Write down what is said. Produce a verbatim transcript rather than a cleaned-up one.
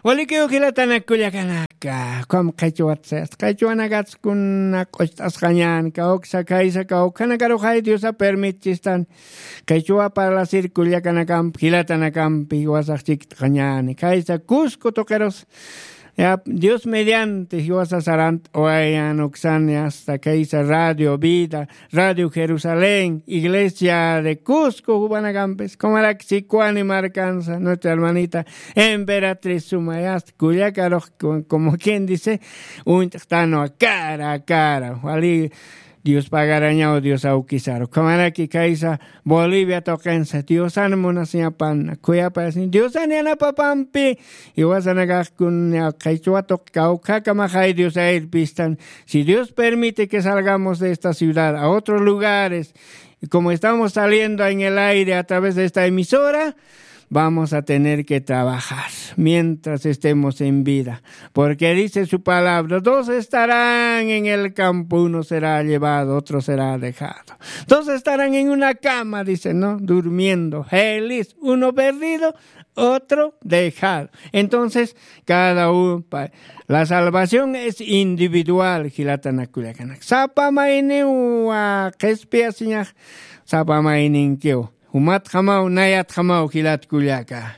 Walikiw jilatanak kullakanaka, ukham qhichwat sayasta, qhichwanakats kuna q'ucht'asqañäni, kawksa khaysa kawkhanakaruxay Diosa permitchistan, qhichwa parlasir kullakanakampi, jilatanakampi jiwasax chikt'añäni, khaysa Cusco tuqirus, ya, Dios mediante, jiwasa sarant'awayan uksan, hasta khaysa Radio Vida, Radio Jerusalén, Iglesia de Cusco, jupanakampis, kumarak Sicuani markansa, nuestra hermanita Emperatriz Sumaya, hasta kullakarux, como quien dice, uñt'tanwa cara a cara, wali Dios pagarañaw, Dios awkisaru. Ukhamaraki khaysa Bolivia tuqinsa, Diosan munasiñapan, khuyapayasiñ, Diosan yanapapampi, jiwasanakax kun qhichwa tuq kawkhakamaxay Dios irpistan. Si Dios permite que salgamos de esta ciudad a otros lugares, y como estamos saliendo en el aire a través de esta emisora, vamos a tener que trabajar mientras estemos en vida. Porque dice su palabra, dos estarán en el campo, uno será llevado, otro será dejado. Dos estarán en una cama, dice, ¿no? Durmiendo, feliz, uno perdido, otro dejado. Entonces, cada uno, pa- la salvación es individual, jilatanak kullakanak. Sapa mayniw, ah, qhispiyasiñax, sapa mayninkiw. Jumatjamaw, nayatjamaw, jilat kullaka.